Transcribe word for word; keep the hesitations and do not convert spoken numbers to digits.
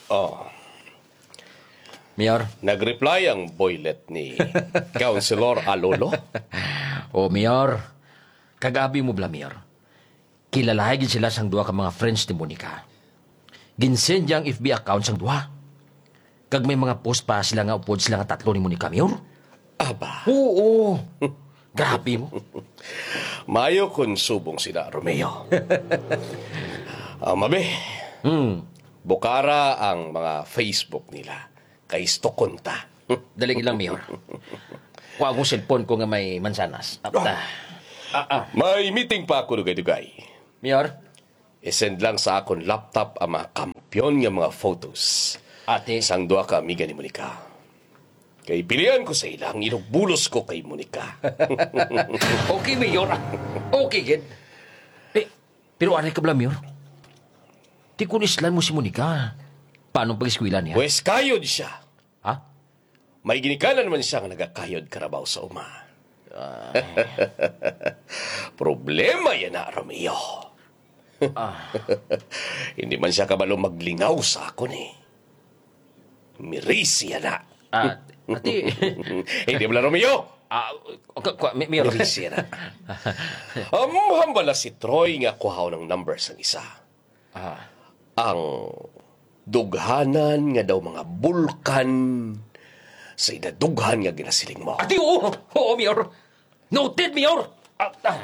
Oh. Mayor? Nag-reply ang boylet ni Councilor Alolo? Oh, Mayor. Kag abi mo bala, Mayor. Kilalahay gid sila sang duha ka mga friends ni Monica. Ginsend niya ang F B account sang duha. Kag may mga post pa sila nga upod sila nga tatlo ni Monica, Mayor. Aba. Oo. Grabe mo. Mayo kon subong sila, Romeo. Ah, mabi. Hmm. Bukara ang mga Facebook nila. Kay stalkon ta. Dali lang, Mayor. Kuha akong cellphone ko nga may mansanas. Apta. Ah, ah. May meeting pa ako, dugay-dugay. Mayor? I-send lang sa akon laptop ang mga kampiyon nga mga photos Ate. Sang duha ka amiga ni Monica. Kay pilian ko sa ila ang inugbulos ko kay Monica. Okay, Mayor. Okay, gid. Eh, pero anay ka bala, Mayor? Ti kun islan mo si Monica, paano ang pag-eskwela niya? Pwes, kayod siya. Ha? May ginikanan man siya nga nagakayod karabaw sa uma. Ah. Problema yan na, Romeo. Ah. Hindi man siya kabalo maglingaw sa akon, eh. Mirisi yan na. Ah, ati. Hindi mo na, Romeo. Ah, ka, ka, mi, mi, Mirisi yan na. Um, hambala si Troy nga kuhaon ang number sang isa. Ah. Ang dughanan nga daw mga bulkan sa idadughan nga ginasiling mo. Ati, oo. Oo, Mayor. Noted, Mayor. Ah, ah.